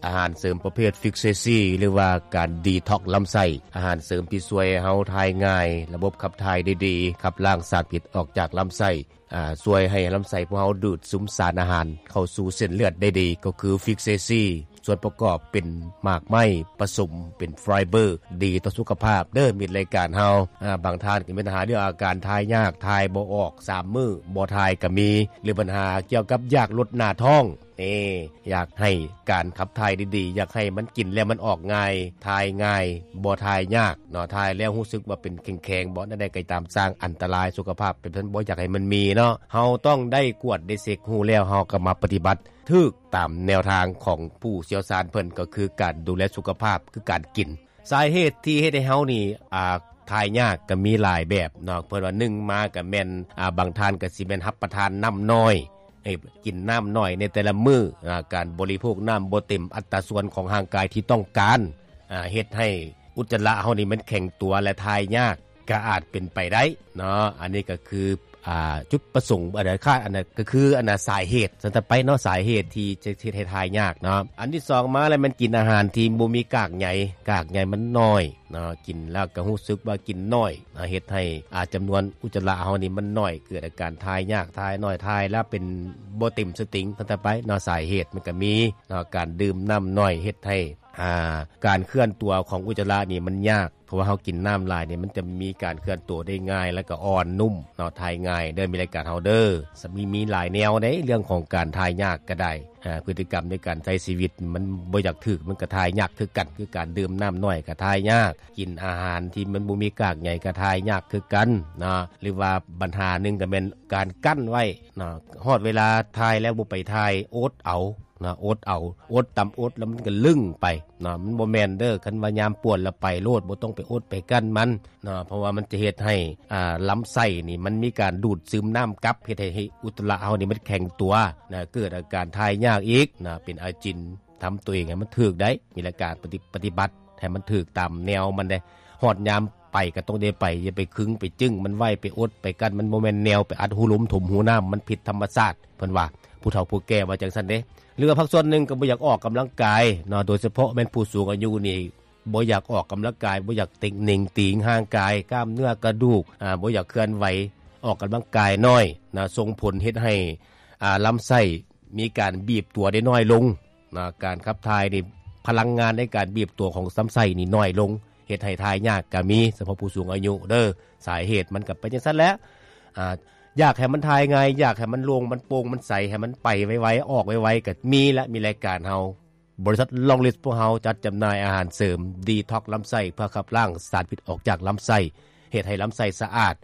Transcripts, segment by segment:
ອາຫານເສີມປະເພດ Fixacy ຫຼືວ່າການດີທັອກລຳໄສ້, ອາຫານເສີມທີ່ຊ່ວຍໃຫ້ເຮົາຖ່າຍງ່າຍ, ລະບົບຂັບຖ່າຍໄດ້ດີ, ຂັບລ້າງສານພິດອອກຈາກລຳໄສ້, ອາ ຊ່ວຍໃຫ້ລຳໄສ້ພວກເຮົາດູດຊຶມສານອາຫານເຂົ້າສູ່ເສັ້ນເລືອດໄດ້ດີ ກໍຄື Fixacy. ສ່ວນປະກອບເປັນໝາກໄມ້ປະສົມເປັນໄຟເບີ ດີຕໍ່ສຸຂະພາບເດີມິດລາຍການເຮົາ. ອາ ບາງທ່ານກໍມີບັນຫາເລື່ອງອາການຖ່າຍຍາກ, ຖ່າຍບໍ່ອອກ, ສາມມື້ບໍ່ຖ່າຍກໍມີ ຫຼືບັນຫາກ່ຽວກັບຢາກລົດໜ້າທ້ອງ. ເອີ ຢາກໃຫ້ການຂັບຖ່າຍດີໆ, ຢາກໃຫ້ມັນກິນແລ້ວມັນອອກງ່າຍ, ຖ່າຍງ່າຍ, ບໍ່ຖ່າຍຍາກເນາະ, ຖ່າຍແລ້ວຮູ້ສຶກວ່າເປັນແຂງໆ, ບໍ່ ແນວໃດກໍຕາມ, ສ້າງອັນຕະລາຍສຸຂະພາບ, ເປັນເພິ່ນບໍ່ຢາກໃຫ້ມັນມີເນາະ. ເຮົາຕ້ອງໄດ້ກວດໄດ້ເຊັກ, ຮູ້ແລ້ວເຮົາກໍມາປະຕິບັດຖືກຕາມແນວທາງຂອງຜູ້ຊ່ຽວຊານເພິ່ນ, ກໍຄືການດູແລສຸຂະພາບ, ຄືການກິນ. ສາເຫດທີ່ເຮັດໃຫ້ເຮົານີ້ ອາ ຖ່າຍຍາກກໍມີຫຼາຍແບບເນາະ. ເພິ່ນວ່າ ໜຶ່ງມາກໍແມ່ນ ອາ ບາງທ່ານກໍຊິແມ່ນຮັບປະທານນ້ຳໜ້ອຍ, ເອີ ກິນນ້ຳໜ້ອຍໃນແຕ່ລະມື້, ອາ ການບໍລິໂພກນ້ຳບໍ່ເຕັມອັດຕາສ່ວນຂອງຮ່າງກາຍທີ່ຕ້ອງການ, ອາ ເຮັດໃຫ້ອຸດຈະລະເຮົານີ້ມັນແຂງຕົວ ແລະ ຖ່າຍຍາກ ກໍອາດເປັນໄປໄດ້ເນາະ. ອັນນີ້ກໍຄື ອາ ຈຸດປະສົງ ອັນນັ້ນ ອັນນັ້ນກໍຄື ອັນນັ້ນ ສາເຫດຊັ້ນໄປເນາະ, ສາເຫດທີ່ຈະເຮັດໃຫ້ຖ່າຍຍາກເນາະ. ອັນທີສອງມາແລ້ວ ແມ່ນກິນອາຫານທີ່ບໍ່ມີກາກໃຍ, ກາກໃຍມັນໜ້ອຍເນາະ, ກິນແລ້ວກໍຮູ້ສຶກວ່າກິນໜ້ອຍ, ເຮັດໃຫ້ ອາ ຈຳນວນອຸດຈະລະເຮົານີ້ມັນໜ້ອຍ, ເກີດອາການຖ່າຍຍາກ, ຖ່າຍໜ້ອຍ, ຖ່າຍແລ້ວເປັນບໍ່ເຕັມສະຕິງຊັ້ນໄປເນາະ. ສາເຫດມັນກໍມີເນາະ, ການດື່ມນ້ຳໜ້ອຍເຮັດໃຫ້ ອາ ການເຄື່ອນຕົວຂອງອຸດຈະລະນີ້ມັນຍາກ, ເພາະວ່າເຮົາກິນນ້ຳຫຼາຍນີ້ ມັນຈະມີການເຄື່ອນຕົວໄດ້ງ່າຍ ແລ້ວກໍອ່ອນນຸ້ມເນາະ, ຖ່າຍງ່າຍເດີມິດລາຍການເຮົາເດີ. ມີ ມີຫຼາຍແນວໃດ ເລື່ອງຂອງການຖ່າຍຍາກກໍໄດ້, ອາ ພຶດຕິກຳໃນການໃຊ້ຊີວິດມັນບໍ່ຢາກຖືກ ມັນກໍຖ່າຍຍາກຄືກັນ, ຄືການດື່ມນ້ຳໜ້ອຍກໍຖ່າຍຍາກ, ກິນອາຫານທີ່ມັນບໍ່ມີກາກໃຍກໍຖ່າຍຍາກຄືກັນເນາະ. ຫຼືວ່າບັນຫາໜຶ່ງກໍແມ່ນການກັ້ນໄວ້ເນາະ, ຮອດເວລາຖ່າຍແລ້ວບໍ່ໄປຖ່າຍ, ອົດເອົາ ນະ ອົດເອົາ, ອົດຕຳອົດແລ້ວມັນກໍລຶ້ງໄປເນາະ, ມັນບໍ່ແມ່ນເດີ. ຄັນວ່າຍາມປວດແລ້ວໄປໂລດ, ບໍ່ຕ້ອງໄປອົດໄປກັ້ນມັນເນາະ, ເພາະວ່າມັນຈະເຮັດໃຫ້ ອາ ລຳໄສ້ນີ້ມັນມີການດູດຊຶມນ້ຳກັບ, ເຮັດໃຫ້ ໃຫ້ອຸດຈະລະເຮົານີ້ມັນແຂງຕົວນະ, ເກີດອາການຖ່າຍຍາກອີກນະ, ເປັນອາຈິນ. ທຳຕົວເອງໃຫ້ມັນຖືກໄດ໋, ມີລາຍການປະຕິ ປະຕິບັດໃຫ້ມັນຖືກຕາມແນວມັນເດ. ຮອດຍາມໄປກໍຕ້ອງໄດ້ໄປ, ຢ່າໄປຄຶງໄປຈຶ້ງມັນໄວ້, ໄປອົດໄປກັ້ນ, ມັນບໍ່ແມ່ນແນວໄປອັດຮູລົມຖົມຮູນ້ຳ, ມັນຜິດທຳມະຊາດ. ເພິ່ນວ່າ ຜູ້ເຖົ້າຜູ້ແກ່ວ່າຈັ່ງຊັ້ນເດ້. ຫຼືວ່າພາກສ່ວນໜຶ່ງກໍບໍ່ຢາກອອກກຳລັງກາຍເນາະ, ໂດຍສະເພາະແມ່ນຜູ້ສູງອາຍຸນີ້ ບໍ່ຢາກອອກກຳລັງກາຍ, ບໍ່ຢາກເຕັງເໜັງຕີງຮ່າງກາຍ, ກ້າມເນື້ອກະດູກ ອາ ບໍ່ຢາກເຄື່ອນໄຫວ, ອອກກຳລັງກາຍໜ້ອຍນະ, ສົ່ງຜົນເຮັດໃຫ້ ອາ ລຳໄສ້ມີການບີບຕົວໄດ້ໜ້ອຍລົງນະ. ການຂັບຖ່າຍນີ້ ພະລັງງານໃນການບີບຕົວຂອງລຳໄສ້ນີ້ໜ້ອຍລົງ, ເຮັດໃຫ້ຖ່າຍຍາກກໍມີ, ສະເພາະຜູ້ສູງອາຍຸເດີ. ສາເຫດມັນກໍເປັນຈັ່ງຊັ້ນແຫຼະ. ອາ ຢາກໃຫ້ມັນຖ່າຍງ່າຍ, ຢາກໃຫ້ມັນໂລ່ງ, ມັນໂປ່ງ, ມັນໃສ, ໃຫ້ມັນໄປໄວໆ, ອອກໄວໆ ກໍມີລະ. ມີລາຍການເຮົາ ບໍລິສັດ Long List ພວກເຮົາຈັດຈຳໜ່າຍອາຫານເສີມດີທັອກລຳໄສ້ ເພື່ອຂັບລ້າງສານພິດອອກຈາກລຳໄສ້, ເຮັດໃຫ້ລຳໄສ້ສະອາດ,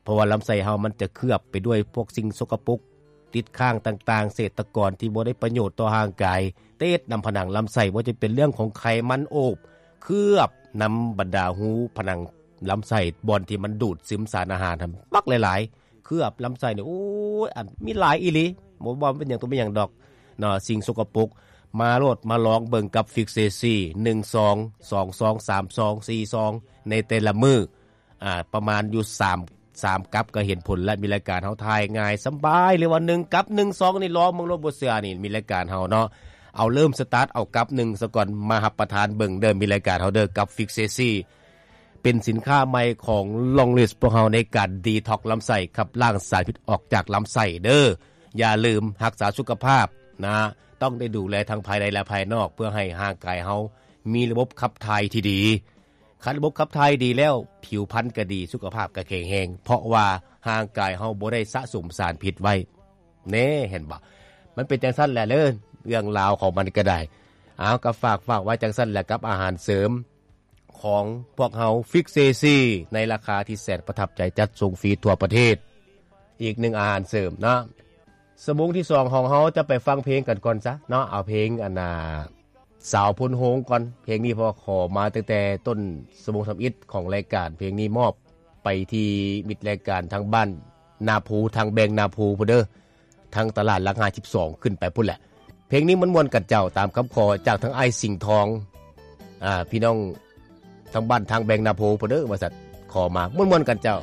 ເພາະວ່າລຳໄສ້ເຮົາມັນຈະເຄືອບໄປດ້ວຍພວກສິ່ງສົກກະປົກ ຕິດຄ້າງຕ່າງໆ, ເສດຕະກອນທີ່ບໍ່ໄດ້ປະໂຫຍດຕໍ່ຮ່າງກາຍ ຕິດນຳຜະໜັງລຳໄສ້, ບໍ່ວ່າຈະເປັນເລື່ອງຂອງໄຂມັນໂອບ ເຄືອບນຳບັນດາຮູຜະໜັງລຳໄສ້ ບ່ອນທີ່ມັນດູດຊຶມສານອາຫານຫັ້ນ ບັກຫຼາຍໆ. ເຄືອບລຳໄສ້ນີ້ ໂອ້ຍ ອັນ ມີຫຼາຍອີ່ຫຼີ, ບໍ່ວ່າເປັນຫຍັງຕົວເປັນຫຍັງດອກເນາະ, ສິ່ງສົກກະປົກ. ມາໂລດ ມາລອງເບິ່ງກັບ Fixacy ໜຶ່ງຊອງ, ສອງຊອງ, ສາມຊອງ, ສີ່ຊອງ ໃນແຕ່ລະມື້, ອາ ປະມານຢູ່ສາມ ສາມກັບກໍເຫັນຜົນແລ້ວ. ມີລາຍການເຮົາຖ່າຍງ່າຍສະບາຍ ຫຼືວ່າໜຶ່ງກັບ ໜຶ່ງຊອງນີ້ ລອງເບິ່ງໂລດ, ບໍ່ເຊື່ອນີ້ ມີລາຍການເຮົາເນາະ. ເອົາເລີ່ມສະຕາດເອົາກັບໜຶ່ງສາກ່ອນ ມາຮັບປະທານເບິ່ງເດີ ມີລາຍການເຮົາເດີ ກັບ Fixacy ເປັນສິນຄ້າໃໝ່ຂອງ Long List ພວກເຮົາໃນການດີທັອກລຳໄສ້, ຂັບລ້າງສານພິດອອກຈາກລຳໄສ້ເດີ. ຢ່າລືມຮັກສາສຸຂະພາບນະ, ຕ້ອງໄດ້ດູແລທັງພາຍໃນ ແລະ ພາຍນອກ ເພື່ອໃຫ້ຮ່າງກາຍເຮົາມີລະບົບຂັບຖ່າຍທີ່ດີ. ຄັນລະບົບຂັບຖ່າຍດີແລ້ວ, ຜິວພັນກໍດີ, ສຸຂະພາບກໍແຂງແຮງ, ເພາະວ່າຮ່າງກາຍເຮົາບໍ່ໄດ້ສະສົມສານພິດໄວ້. ແນ່ ເຫັນບໍ່? ມັນເປັນຈັ່ງຊັ້ນແຫຼະເດີ, ເລື່ອງລາວຂອງມັນກໍໄດ້. ເອົາ ກໍຝາກ ຝາກໄວ້ຈັ່ງຊັ້ນແຫຼະ ກັບອາຫານເສີມ ຂອງພວກເຮົາ Fixacy ໃນລາຄາທີ່ແສນປະທັບໃຈ, ຈັດສົ່ງຟຣີທົ່ວປະເທດ. ອີກໜຶ່ງອາຫານເສີມເນາະ. ຊົ່ວໂມງທີສອງຂອງເຮົາຈະໄປຟັງເພງກັນກ່ອນຊະເນາະ, ເອົາເພງອັນນ່າ ສາວໂພນໂຮງກ່ອນ. ເພງນີ້ພໍ່ຂໍມາຕັ້ງແຕ່ຕົ້ນຊົ່ວໂມງທຳອິດຂອງລາຍການ, ເພງນີ້ມອບໄປທີ່ມິດລາຍການທາງບ້ານນາພູ, ທາງແບງນາພູພຸ້ນເດີ. ທາງຕະຫຼາດຫຼັກຫ້າສິບສອງຂຶ້ນໄປພຸ້ນແຫຼະ. ເພງນີ້ມ່ວນໆກັນເຈົ້າ, ຕາມຄຳຂໍຈາກທາງອ້າຍສິງທອງ, ອາ, ພີ່ນ້ອງທາງບ້ານທາງແບງນາໂພພຸ້ນເດີ ວ່າຊັ້ນ, ຂໍມາມ່ວນໆກັນເຈົ້າ.